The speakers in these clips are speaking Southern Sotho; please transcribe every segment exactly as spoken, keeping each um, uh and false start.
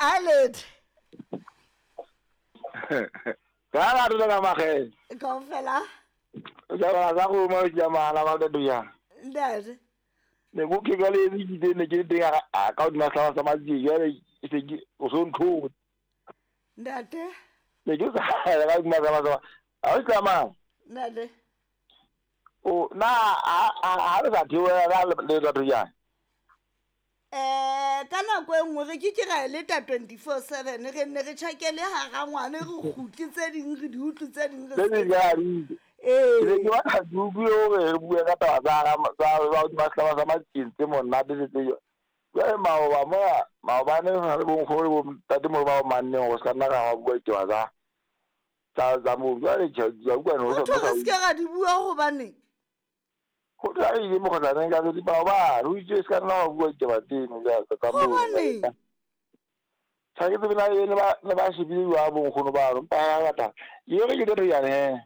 Aled. Ka la re ka mageng. Kaofela. Ja ba za go mo ja mala ba do ya. Ntate. Ne go ke ka le di ne ke teng a ka o dima sa sa matsi ya le se ke o so ntho. Ntate. Ne ke sa ka dima sa sa. A o tsamaya. Ntate. O na a a re sa theola ka le batho jang? Eh ka nako e nngwe re ke ke ra e leta twenty-four seven re nne re tjhakele hara ngwane re kgutle tse ding re di utlwe tse ding re se di. Eh ke ba ka utlwe hore re bue ka taba tsa tsa ba di mahlaba sa matseng tse monate le tse. Jwale maoba moya maobane re bo nkgono bo ntate mo ba manneng go ska nna ra bua ditaba tsa tsa tsa mo jwale ja utlwa no sa re se ra di bua hobane go tla ile mo go tla nka di ba ba ro itse se kana wa bua ditaba tseno ja ka mo sa ke tsena le ba le ba shebile wa bo nkgono ba ro pa ba ta ye re ke re ya ne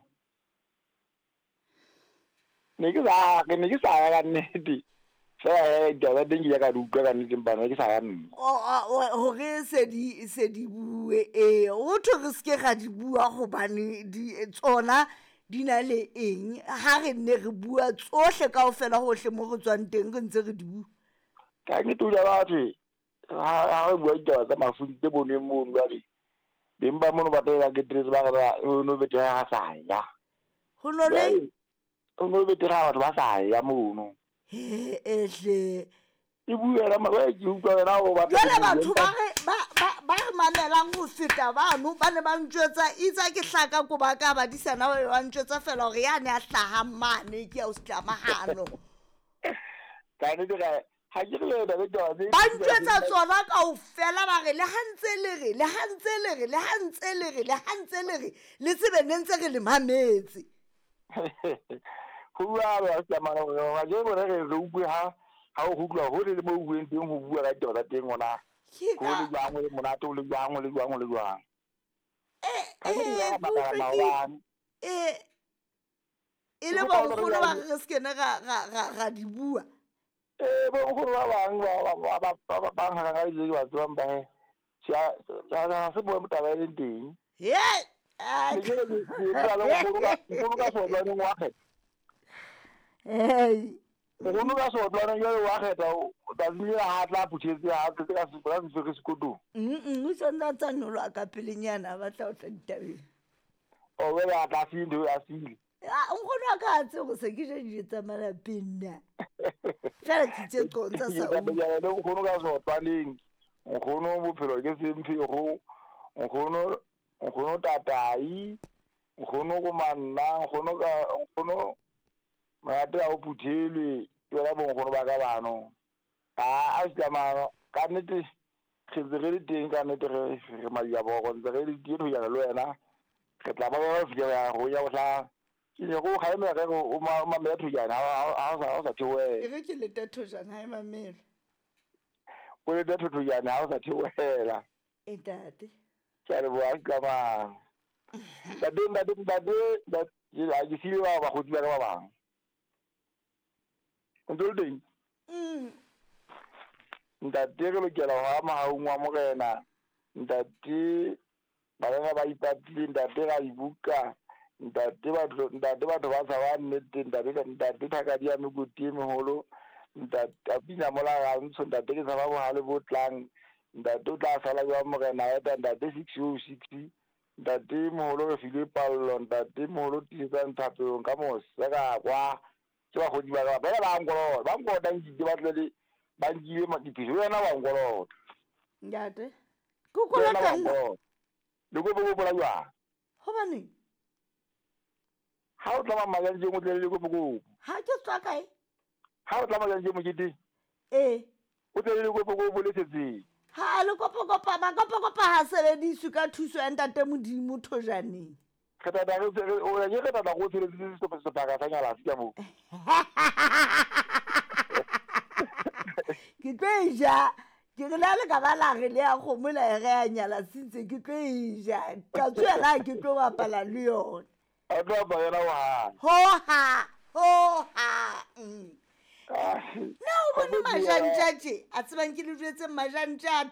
ne ke sa ke ne ke sa ya ka nnete fela ditaba teng ke ya ka di utlwa ka nnete mpa ne ke sa ya nna hore se di se di bue e o thwe re se ke ga di bua hobane di tsona di na le eng ha re nne re bua tsohle kaofela hohle mo re tswang teng re ntse re di bua ka nnete o ja batho ha re bua ditaba tsa mafu tse boneng mono jwale beng ba mono ba tela ke dress ba re o no bete ha sa ya ho no le o no bete ha batho ba sa ya mono he ehle e buela ma ba ke utlwa wena o batla jwale batho ba re ba ba ba re mamelang ho feta bano ba ne ba ntjwetsa itsa ke hlaka ko ba ka ba disana ba ba ntjwetsa fela hore ya ne a hlaha mane ke ya o setlamahano ka ne dira ha ke le da le ba ntjwetsa tsona kaofela ba re le ha ntse le re le ha ntse le re le ha ntse le re le ha ntse le re le tsebe ne ntse re le mametse ho bua ba setlamahano ga ke bone re re utlwe ha ha o utlwa ho le mo bueng teng ho bua ka ditaba tsa teng ona ho le jwang le monate o le jwang le jwang le jwang eh eh e le ba nkgono ba re se kene ra ra ra di bua eh bo nkgono ba bang ba ba ba ba bang ha ga di ba tswang ba he ya ya se bua taba e leng teng he ke ke ke le nkgono ka nkgono ka sotlwaneng wa kgetha eh nkgono ka sotlwaneng jwale wa kgetha tsatsi le ha tla phuthetse ha tletse ka ka sefere sekotong mm o santse a tsa nyoloha ka pelenyana a batla ho tla ditabeng o wele a tla sile a sile a nkgono a ka a tsebe gore se ke ja dijo tsa malapeng na fela ke itse qontsa sa o le nkgono ka sotlwaneng nkgono bophelo ke semphego nkgono nkgono tatai nkgono go manna nkgono ka nkgono monate a o phuthelwe ke yona bonkgono ba ka bano a a setlamano ka nnete re ntse re le teng ka nnete re re madiabogo ntse re le teng ho yana le wena re tla ba ba fika go ya go tla ke ne go kgalemela re o mamela thojana ha o sa theohela e re ke leta thojana ha e mamela o leta thojana ha o sa theohela e ntate ke a leboha setlamano ntate ntate ntate a ke siile ba bakgotsi ba ka ba bang o ntse o le teng ntate re lokela ho ama haung wa morena ntate bana ba ipatile ntate ra ibuka ntate batho ntate batho ba tshaba nnete ntate ntate thakadi ya mekoti e meholo ntate a pina mola ga ntsho ntate ke tshaba bohale bo tlang ntate o tla sala jwa morena eta ntate six oh six ntate moholo re filwe pallo ntate moholo tiisetsang thapelong ka mose ka kwa ke bakgotsi ba ka ba ba nkolota ba nkolota nkile ba tle ba nkile diphiso wena wa nkolota ntate ke kolota nna le kopo kopo la jwang hobaneng ha o tla majanjeng o tle le kopo kopo ha ke tswa kae ha o tla majanjeng mokete ee o tle le kopo kopo le setseng ha le kopo kopo makopo kopo ha sebediswe ka thuso ya ntate Modimo thojaneng re tla re o re re tla go tsheletse sebaka sa nyalasi ka moo ke tlo e ja ke re le ha le ka ba la re le ya kgomo la e re ya nyala sentse ke tlo e ja ka tswela ke tlo bapala le yona a tlo bapala yona hoha hoha na o bone majantja tje a tsebang ke le jwetse majantja a